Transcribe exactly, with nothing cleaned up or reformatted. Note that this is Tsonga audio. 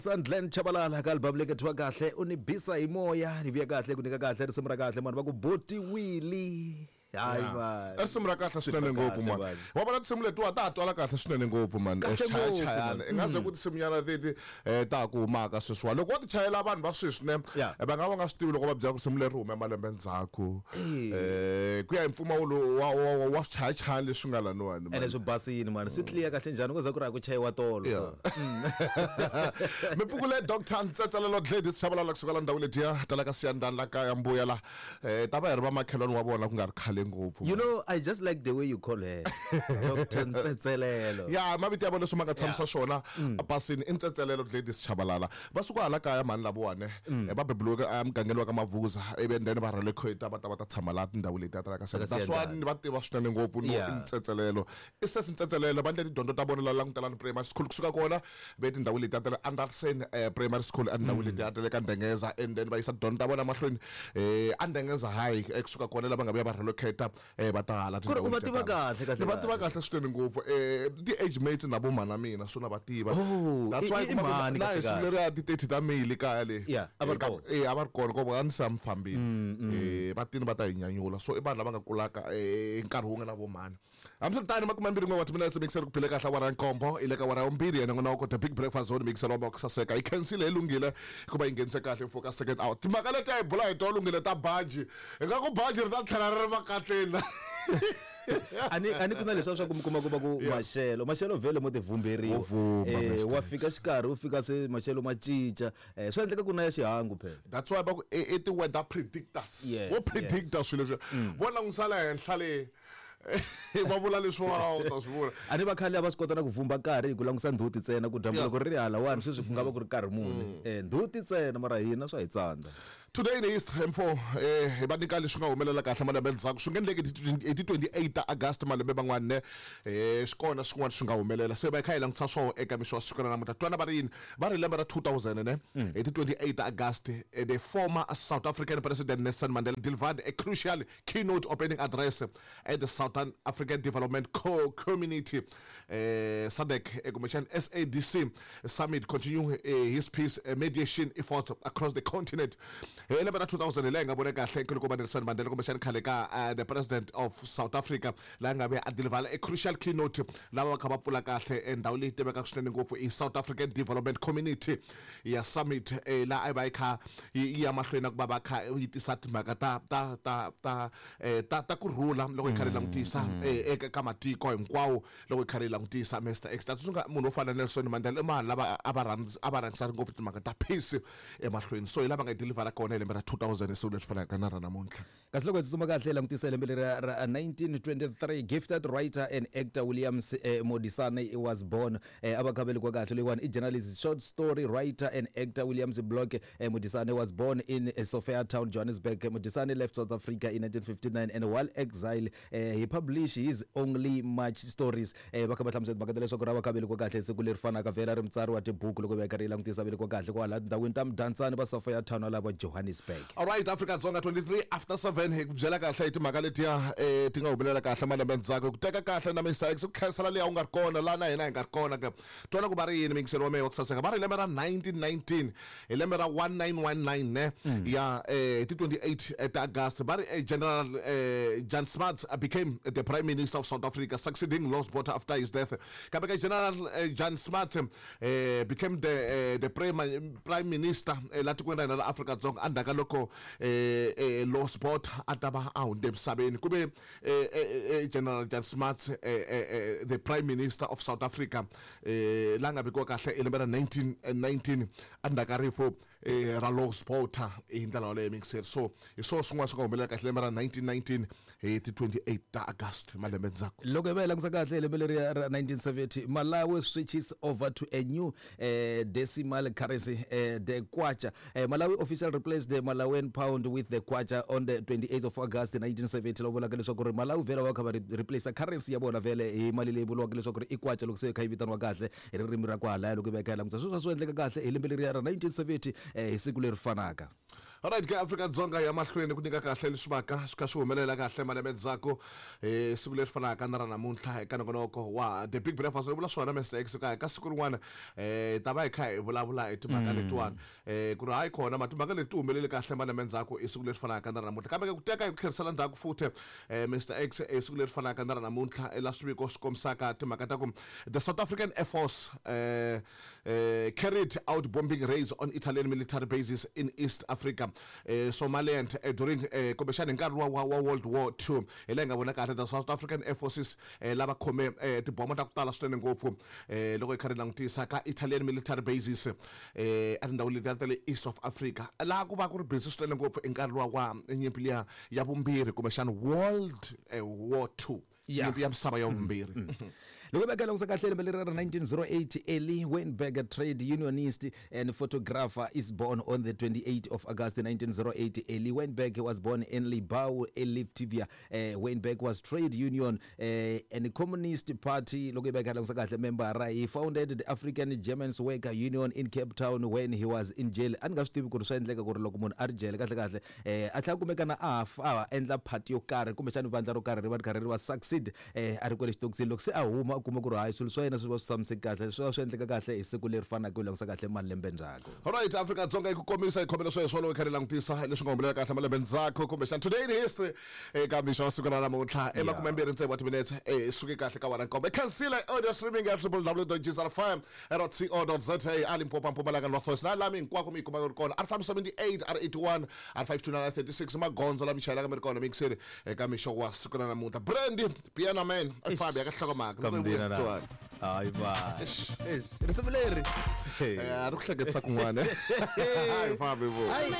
Sandlen Chabalala ka album leyi khethiwa kahle u ni bisa hi moya ni vuya kahle ku nyika kahle risimu ra kahle mani va ku boti Willie hayi i risimu ra kahle swinene ngopfu mani wa vona tinsimu letiwa ta ha twala kahle swinene ngopfu mani chayachayana i nga ze ku tinsimunyana leti um ta ha ku humaka sweswiwani loko wo ti chayela vanhu va sweswi ne va nga va nga swi tivi loko va byela ku risimu leri hume malembe ndzhaku um ku ya hi mpfumawulo wa wa wa swichayachayani leswi nga laniwani ene swi basini mani swi tliya kahle njhani ku za ku ri a ku chayiwa tolo so mi pfukule Doctor Ntsetselelo Gladys Chabalala kusuka la ndhawu letiya tala ka Siyandhani la kaya mbuya la um ta va hi ri vamakhelwani wa vona ku nga ri khale ngopfu. You know, I just like the way you call her Doctor Ntsetselelo. Ya mavito ya vona leswi ma nga tshamisa swona pasini i Ntsetselelo Gladys Chabalala va suka hala kaya mhani lavawani va bebuliweke emugangeni wa ka Mavuza ivi then va relocate va ta va ta tshama laha tindhawu letiya ta la ka Siyandhani. That's why ni va tiva swinene ngopfu no i Ntsetselelo i sesi Ntsetselelo va endle tidyondzo ta vona la Langutelani Primary School kusuka kona ve tindhawu letiya ta le Anderson Primary School endhawini letiya ta le ka Ndengeza and then va yisa tidyondzo ta vona mahlweni um Andengeza High kusuka kona lava nga vuya va relocate va ta hala ku ri u va tiva kahle kahle ni va tiva kahle swinene ngopfu um ti-age mates na vo mhana mina so na va tiva Oh, that's why i- i mhani na hi kahle siku kahle. leriya ti-thirty ta May le kaya le Yeah, a va ri kona. e a va ri kona ko a ni se a mi fambile um va tini va ta hi nyanyula so i vanhu lava nga kulaka um nkarhi wun'we na vo mhani hambiswiritano makume mbirhi n'we wa timinetse mixer ku phile kahle awara ya nkombo i le ka awara ya vumbirhi yena n'wana wa kota big breakfast zone mixer wa ku saseka yi khensile hi lunghile hikuva yi nghenise kahle mfo ka second out timhaka leti a hi bula hi tona lunghile ta baji hi nga ku baji ri ta tlhela ri ri makatleni ani ani ku na leswiya swa ku mi kuma ku va ku maxelo maxelo vhele mo ti vhumberiwa Wo vhumba, Eh, Mister wa fika xikarhi u fika se maxelo ma cinca eh, swa endleka ku na ya xihangu phela that's why va ku i i ti-weather predictors Yes, vo predicta swilo leswi vo langusala henhla le va vula leswi va u ta swi vula a ni va khale a va swi kota na ku vhumba nkarhi hi ku langusa ndzhuti ntsena ku dyambu Yeah. loko ri ri halawani sweswi ku nga va ku ri nkarhi muni um ndzhuti ntsena mara hina swa hi tsandza today in history mfo eh hi va nyika leswi nga humelela kahle malembe ndzhaku swi nga endleki hi ti twenty-eight ta August malembe man'wana ne eh swi kona swin'wana swi nga humelela se va hi kha hi langutisa swona eka mixo wa siku ra namuntlha twana va ri yini va ri lembe ra two thousand ne hi ti twenty-eight ta August eh, the former South African President Nelson Mandela delivered a crucial keynote opening address at the Southern African Development Co Community eh SADC eh, Commission S A D C summit continue eh, his peace eh, mediation efforts across the continent. Hi lembe ra two thousand hi laha hi nga vona kahle nkulukumba Nelson Mandela kumbexani khale ka uh, the president of South Africa laha nga ve a deliver a crucial keynote lava va kha va pfula kahle ndhawu leyi tivekaka swinene ngopfu i South African Development Community ya summit eh, laha a yi va yi kha yi ya mahlweni na ku va va kha yi tisa timhaka ta ta ta ta eh, ta ta kurhula loko hi karhi hi langutisa eh, eka ka matiko hinkwawo loko hi karhi hi langutisa Mister X ta tsundzuka munhu wo fana na Nelson Mandela i vanhu lava a va rhandza a va rhangisa ngopfu timhaka ta peace emahlweni so hi lava nga yi deliver kona hi lembe ra two thousand siku leswi fanaka na ra namuntlha kasi loko hi tsutsuma kahle hi langutisa lembe leri ra nineteen twenty-three gifted writer and actor Williams eh, Modisane was born eh, a va kha velekiwa kahle loyiwani i journalist short story writer and actor Williams Block eh, Modisane was born in eh, Sophiatown, Johannesburg. Modisane left South Africa in nineteen fifty-nine and while exile eh, he published his only much stories eh, va kha va hlamusela timhaka ta leswaku ra va kha velekiwa kahle siku leri fanaka vhela ri mutsari wa tibuku loko va karhi yi langutisa velekiwa kahle kwala tindhawini ta Mdantsane va Sophiatown lava Johannesburg. All right Africa Dzonga twenty-three after seven hi ku byela kahle hi timhaka letiya eh ti nga humelela kahle malembe ndzhaku ku teka kahle na Mister X ku tlherisela leyi a wu nga ri kona laha na hina hi nga ri kona ka twana ku va ri yini mingiselo wa mehe wa ku saseka va ri lembe ra nineteen nineteen hi lembe ra one nine one nine ne ya eh ti twenty-eight ta August va ri eh, General eh, Jan Smuts became the Prime Minister of South Africa succeeding Los Botha after his death kambe ka General eh, Jan Smuts eh, became the eh, the Prime Prime Minister eh, la tikweni ra hina ra Afrika Dzonga endzhaku ka loko eh, eh, Los Botha a ta va a hundze emisaveni ku ve eh, eh, eh, General Jan Smuts eh, eh, eh, the Prime Minister of South Africa eh, la nga vekiwa kahle hi lembe ra nineteen nineteen endzhaku ka rifu eh, ra Los Botha hi ndlela yoleyo mingiseri so hi swona swin'wana swi nga humelela kahle lembe ra nineteen nineteen hi ti twenty-eight ta August malembe ndzhaku loko hi va hi langutisa kahle hi lembe leri ra nineteen seventy Malawi switches over to a new eh, decimal currency eh, the kwacha eh, Malawi officially replaced the Malawian pound with the kwacha on the twenty-eighth of August nineteen seventy loko vulaka leswaku ri Malawi vhela va kha va replace currency ya vona vhele hi mali leyi vuriwaka leswaku ri i kwacha loko se yi kha yi vitaniwa kahle hi ririmi ra kwalaya loko hi va hi kha hi langutisa sweswo swi endleka kahle hi lembe leriya ra nineteen seventy eh, hi siku leri fanaka. Alright ke Afrika Dzonga ya mahlweni ku nyika kahle leswi vaka swi kha swi humelela kahle malembe ndzhaku eh siku leri fanaka na ra namuntlha eka nongonoko wa The Big Breakfast. Ri vula swona Mister X ka ka siku rin'wana eh ta va hi kha hi vulavula hi timhaka letiwani eh ku ri hayi khona ma timhaka leti humelele kahle malembe ndzhaku i siku leri fanaka na ra namuntlha. Kambe ke ku teka hi ku tlherisela ndzhaku futhi eh Mister X i siku leri fanaka na ra namuntlha la swiviko swi kombisaka timhaka ta ku the South African Air Force eh eh carried out bombing raids on Italian military bases in East Africa, eh, Somaliland eh, during eh, kumbexana hi nkarhi wa, wa, wa World War Two. Hi laha hi nga vona kahle the South African Air Forces eh, lava khome eh, tibomo ta ku tala swinene ngopfu eh, loko hi kha ri langutisa ka Italian military bases eh, a tindhawu letiya ta le East of Africa, laha ku va ku ri busy swinene ngopfu hi nkarhi wa wa nyimpi liya ya vumbirhi kumbexana World eh, War Two. Yeah. Nyimpi ya misava ya vumbirhi. Loko va langutisa kahle lembe leri ra nineteen oh eight, Eli Weinberg, trade unionist and photographer, is born on the twenty-eighth of August nineteen oh eight. Eli Weinberg was born in Libau, Latvia. Uh, Weinberg was trade union uh, and Communist Party loko va langutisa kahle member. He founded the African Germans Worker Union in Cape Town when he was in jail. A ni nga swi tivi ku ri swa endleka ku ri loko munhu a ri jele kahle kahle eh a tlhela kumeka na a fa a endla party yo karhi kumbexana vandla ro karhi ri va ri karhi ri va succeed eh a ri kwale xitokisini. Loko se a huma a kuma ku ri hayi swilo swa yena swi va swi tshamiseke kahle, swi va swi endleka kahle hi siku leri fanaka ku langutisa kahle malembe ndzhaku. Alright, Afrika Dzonga yi ku komisa yi khomela sweswo loko hi kha ri langutisa leswi nga humelela kahle malembe ndzhaku kumbexana today in history eka mixo wa siku ra namuntlha e makumembirhi tsevu wa timinetse eh suke kahle ka wena nkombe khansile audio streaming at w w w dot g s r f m dot co dot z a a Limpopo, Mpumalanga, North West na lami hinkwako mi yi kumaka ri kona R five seventy-eight, R eighty-one, R five two nine, R thirty-six magondzo lama chayelaka mi ri kona mixeri eka mixo wa siku ra namuntlha. Brandy Piano Man a fambi ya ka hlokomhaka loko hi vuya kutswani. Hayi va. Eish. Eish, risimu leri. Eh, a ri ku hleketisa kun'wana. Hayi fambi vo. Hayi.